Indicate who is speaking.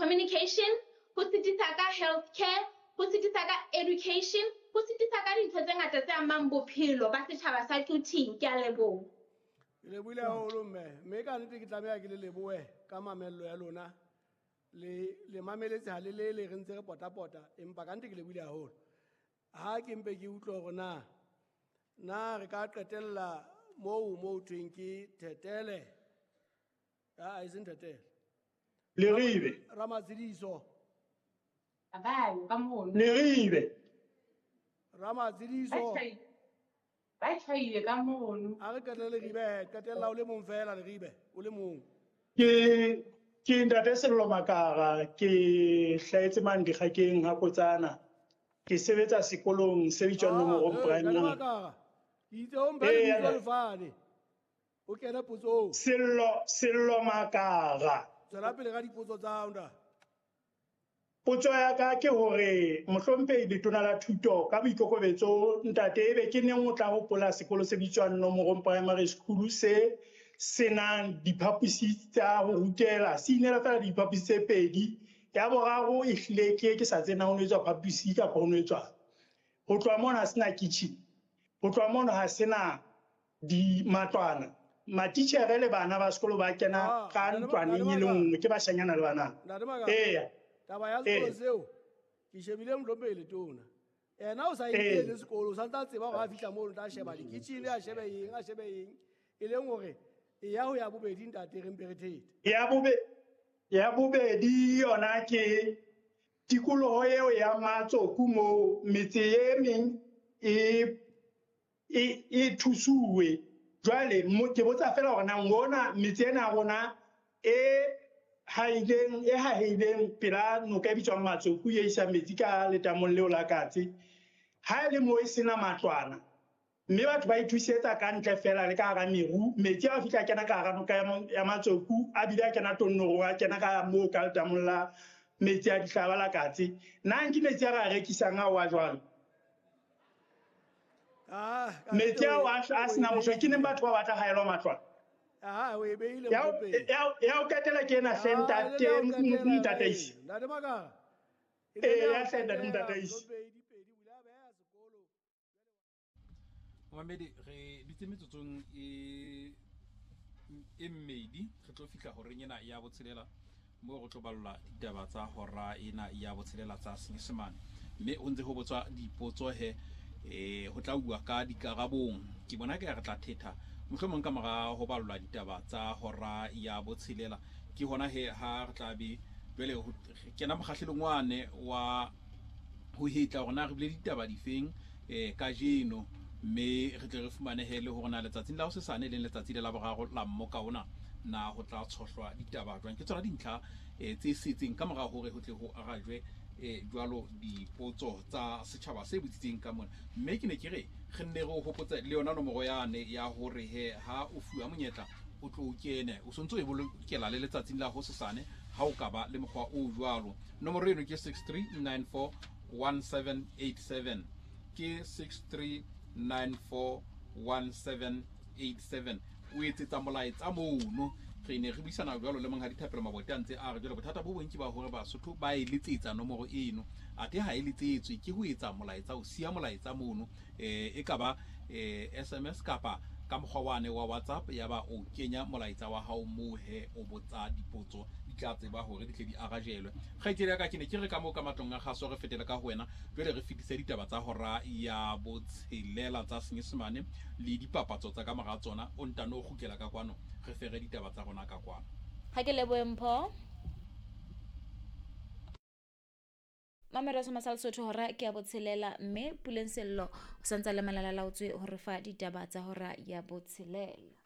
Speaker 1: communication, ho sitisa ka health care, ho sitisa ka education, ho sitisa ka dintho tse ngata tse amang bophelo ba setjhaba sa Quthing. Ke a leboha.
Speaker 2: Ke lebohile haholo mme, mme ka nnete ke tlameha ke le lebohe ka mamello ya lona. Le le mameletse ha le lele re ntse re potapota empa ka nnete ke lebohile haholo. Ha ke mpe ke utlwe hore na na re ka qetella moo mo thweng ke Thetele. A e seng Thetele.
Speaker 3: Leribe.
Speaker 2: Ramatsediso.
Speaker 4: Abayo ka mono.
Speaker 3: Leribe.
Speaker 2: Ramatsediso.
Speaker 4: Ba tjhaile ka mono.
Speaker 2: A re qetelle Leribe, qetella o le mong fela Leribe, o le mong.
Speaker 3: Ke Ntate Sello Makara, ke hlahetse mane Dikgakeng ha Kotsana. Ke sebetsa sekolong se bitswang Nomorong
Speaker 2: Ntate
Speaker 3: Primary.
Speaker 2: Makara. Ke itse o mphe lebitso lefane. O kene potsong.
Speaker 3: Sello Makara.
Speaker 2: Tswela pele ka dipotso tsa hao ntate.
Speaker 3: Potso ya ka ke hore mohlomphehi letona la thuto ka boikokobetso ntate ebe ke neng o tla hopola sekolo se bitswang Nomorong Primary School se senang diphaposi tsa ho rutela, se inela fela diphaposi tse pedi. Ya boraro e hlile ke sa tsena ho no etswa phaposi kapa ho no etswang. Ho tloha mono ha sena kitchen, ho tloha mono ha sena di matlwana. Matitjhere le bana ba sekolo ba kena ka ntlwaneng e le nngwe, ke bashanyana le banana.
Speaker 2: Ntate Makara.
Speaker 3: Eya.
Speaker 2: Taba ya sekolo seo ke shebile mohlomphehi letona. Yena o sa inkele sekolo, o santse a tseba hore ha fihla mono o tla sheba di-kitchen, a shebe eng, a shebe eng. E leng hore e ya ho ya bobedi ntate re mpe re thete.
Speaker 3: Ya bobedi yona ke tikoloho eo ya Matsoku moo metse e meng e thusuwe. Jwale ke botsa fela hore na ngona metse ena ya rona e haileng, e haheileng pela noka e bitswang Matsoku e isang metsi ka letamong leo la Katse, ha e le moo e sena matlwana, mme batho ba ithusetsa ka ntle fela le ka hara meru, metsi a fihla kena ka hara noka ya Matsoku, a bile a kena Tonnorong, a kena ka moo ka letamong la metsi a dihlaba la Katse. Na ke metsi a re a rekisang ao a jwalo? Metsi ao a sena motho, ke neng batho ba batla haelwa matlwana?
Speaker 2: O e beile
Speaker 3: Ya
Speaker 2: mopele.
Speaker 3: ya o qetela ke ena hle, ntate,
Speaker 2: E le ya o qetela,
Speaker 3: ntataisi.
Speaker 2: Ntate Makara. E
Speaker 3: Ee,
Speaker 2: le ya
Speaker 3: ya
Speaker 2: o
Speaker 3: hle, ntate
Speaker 2: qetela,
Speaker 3: Ntataisi.
Speaker 2: Mopedi, pedi, o ile a beha sekolo.
Speaker 5: Momamedi, re dutse metsotsong e mmedi, re tlo fihla horeng ena ya botshelela moo re tlo ballwa ditaba tsa hora ena ya botshelela tsa Senyesemane. Mme ho ntse ho botswa dipotso he, ho tla uwa ka dikarabong. Ke bona ke re tla thetha mohlomong ka mora ho ballwa ditaba tsa hora ya botshelela. Ke hona he ha re tla be jwale ho kena mokgahlelong wane wa ho hetla hore na re bile ditaba difeng kajeno, mme re tle re fumanehe le hore na letsatsing la hosesane, e leng letsatsi le la boraro la mmoka ona, na ho tla tshohlwa ditaba jwang. Ke tsona dintlha tse setseng ka mora hore ho tle ho arajwe jwalo dipotso tsa setjhaba se botsitseng ka mona. Mme ke ne ke re re nne re o hopotse le yona nomoro yane ya hore he ha o fuwa monyetla o tlo o kene, o sontso e bolokela le letsatsing la hosesane ha o ka ba le mokgwa o jwalo. Nomoro eno ke 63941787, ke 63941787. O etsetsa molaetsa mono. Re ne re buisana jwalo le Monghadi Thapelo Mabote a ntse a re jwale bothata bo bong ke ba hore Basotho ba e letsetsa nomoro eno, athe ha e letsetswe ke ho etsa molaetsa, o siya molaetsa mono, e ka ba SMS kapa ka mokgwa wane wa WhatsApp, ya ba o kenya molaetsa wa hao moo he o botsa dipotso, di tla tseba hore di tle di arajelwe. Kgaitsedi ya ka, ke ne ke re ka moo ka matlong a kgaso re fetele ka ho wena jwale re fetise ditaba tsa hora ya botshelela tsa Senyesemane le dipapatso tsa ka mora tsona, o ntano o kgutlela ka kwano re fere ditaba tsa rona ka kwano.
Speaker 6: Ha ke lebohe Mpho. Mamelo sa Masal Sotho hora ke ya botshelela, mme Puleng Sello o santse a le malala laotswe ho re fa ditaba tsa hora ya botshelela.